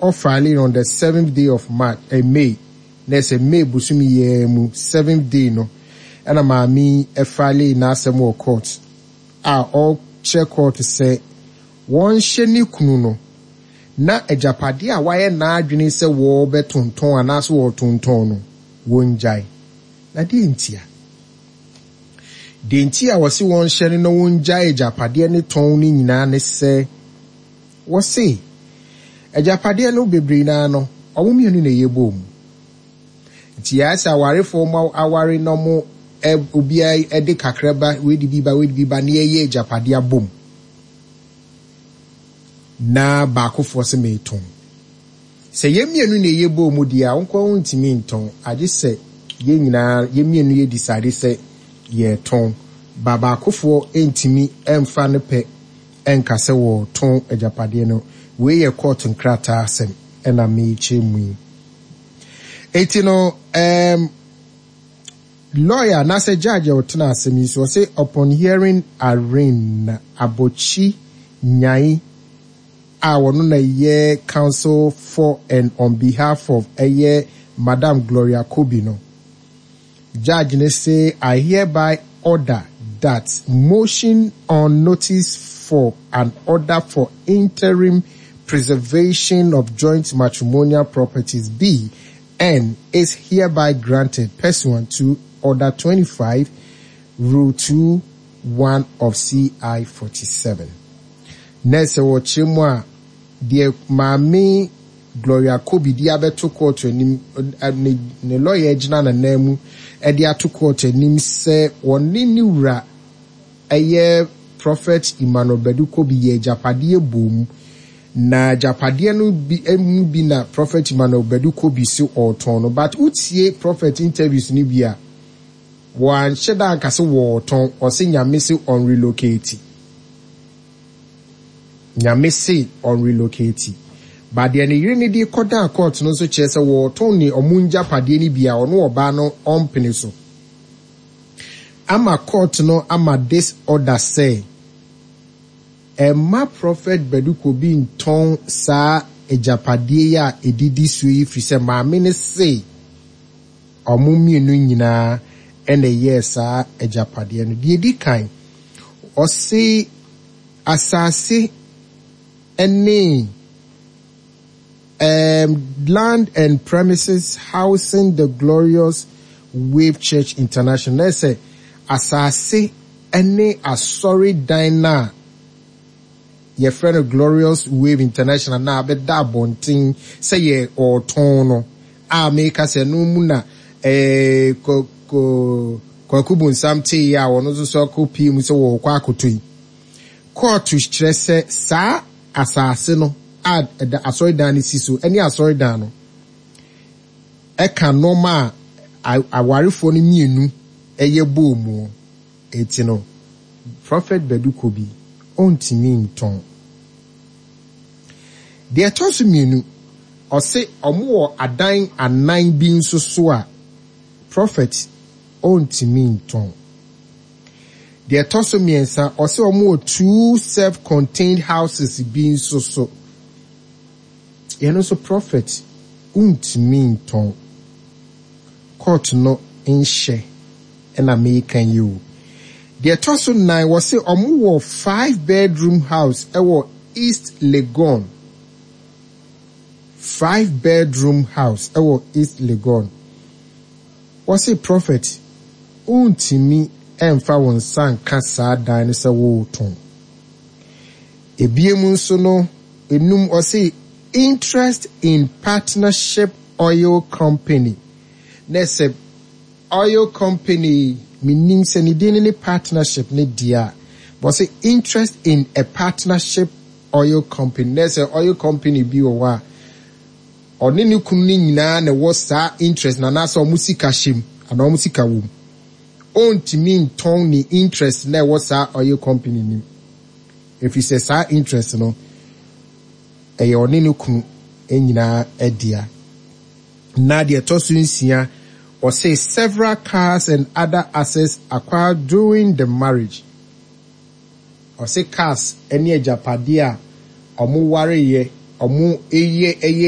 Ɔfile on the seventh day of March, eh, May, na ɛsɛ May bosome yi ara mu seventh day no ɛna maame yi ɛfile n'asɛm wɔ court a ɔkyerɛ court sɛ wɔnhyɛ ne kunu no na agyapadeɛ a wayɛ n'adwene sɛ wɔrebɛtontɔn anaasɛ wɔretontɔn no wɔngyae. Na deɛ ntia? Deɛ nti a wɔse wɔnhyɛ no na wɔngyae agyapadeɛ ne tɔn no nyinaa ne sɛ Wɔse, agyapadeɛ no bebree no ara no, wɔn mmienu na ɛyɛ bɔɔ mu. Nti ayɛ sɛ awarefoɔ wɔn aware na wɔn obiara de kakra ba, wei de bi ba, wei de bi ba, na yɛyɛ agyapadeɛ abom. Na baakofoɔ se meetɔn. Sɛ yɛn mmienu na ɛyɛ bɔɔ mu deɛ a, wo nkoa wontumi ntɔn, agye sɛ yɛn nyinaa, yɛn mmienu yɛ decide sɛ yɛretɔn. Ba baakofoɔ ntumi mfa ne pɛ nka sɛ wɔretɔn agyapadeɛ no. Wei yɛ kɔɔto nkrataa asɛm na merekyerɛ mu yi. Enti no, um, lawyer anaasɛ judge a ɔtena asɛm yi so, ɔse upon hearing Irene Abokyi Nyai a ɔno na ɛyɛ counsel for and on behalf of ɛyɛ Madam Gloria Kobi no, Judge no se I hereby order that motion on notice for an order for interim preservation of joint matrimonial properties be and is hereby granted pursuant to Order 25, Rule 2, 1 of CI 47. Na sɛ wɔkyerɛ mu a, deɛ Maame Gloria Kobi de abɛto kɔɔto anim, ne ne lɔya agyina n'ananmu de ato kɔɔto anim sɛ wɔne ne wura ɛyɛ Prophet Emmanuel Badu Kobi yɛ agyapadeɛ boom. Na agyapadeɛ no bi mu bi na Prophet Emmanuel Badu Kobi se ɔretɔn no. But wotie Prophet interviews no bi a, wɔanhyɛ da anka se wɔretɔn, ɔse Nyame se ɔnrelocate. Nyame se ɔnrelocate. But deɛ ne yere no de kɔdaa court no nso kyerɛ sɛ wɔretɔn ne ɔmo ngyapadeɛ no bi a ɔno ɔbaa no ɔmpene so. Ama court no ama this order sɛ ɛmma Prophet Badu Kobi ntɔn saa agyapadeɛ yi a ɛdidi soɔ yi firi sɛ maame no se wɔn mmienu nyinaa na ɛyɛɛ saa agyapadeɛ no. Deɛ ɛdi kan, ɔse asase ne um, land and premises housing the Glorious Wave Church International. Na ɛsɛ asase ne asɔredan no a yɛfrɛ no Glorious Wave International no a abɛda abɔnten sɛ yɛ ɔretɔn no a meka sɛ ɛno mu na eh, Kwaku Bonsam teeɛ a ɔno nso so akɔpie mu sɛ wɔrekɔ akɔtɔ yi. Kɔɔto kyerɛ sɛ saa asase no a ɛda asɔredan no si so ne asɔredan no ɛka nneɛma a awarefoɔ no mmienu ɛyɛ bɔɔ mu. Enti no, Prophet Badu Kobi, ɔntumi ntɔn. Deɛ ɛtɔ so mmienu, ɔse ɔmo wɔ adan anan bi nso so a Prophet ɔntumi ntɔn. Deɛ ɛtɔ so mmiɛnsa, ɔse ɔmo wɔ two self-contained houses bi nso so. Yɛno nso Prophet wontumi ntɔn. Court no nhyɛ na meka yi o. Deɛ ɛtɔ so nnan, wɔse ɔmo wɔ five bedroom house ɛwɔ East Legon. Five bedroom house ɛwɔ East Legon. Wɔse Prophet wontumi ɛmfa wo nsa nka saa dan no sɛ woretɔn. Ebiem nso no, enum ɔse interest in partnership oil company. Na sɛ Oil company yi, mennim sɛ ne din no ne partnership no deɛ a, but ɔse interest in a partnership oil company. Na sɛ oil company bi wɔ hɔ a, ɔne ne kunu no nyinaa na ɛwɔ saa interest no anaasɛ wɔn sika hyɛ mu anaa wɔn sika wɔ mu. Ɔntumi ntɔn ne interest na ɛwɔ saa oil company no mu. Ɛfiri sɛ saa interest no, ɛyɛ ɔne ne kunu nyinaa dea. Na deɛ ɛtɔ so nsia, ɔse several cars and other assets acquired during the marriage. Ɔse cars ne agyapadeɛ a wɔwareeɛ ɔmo yɛ ɛyɛ.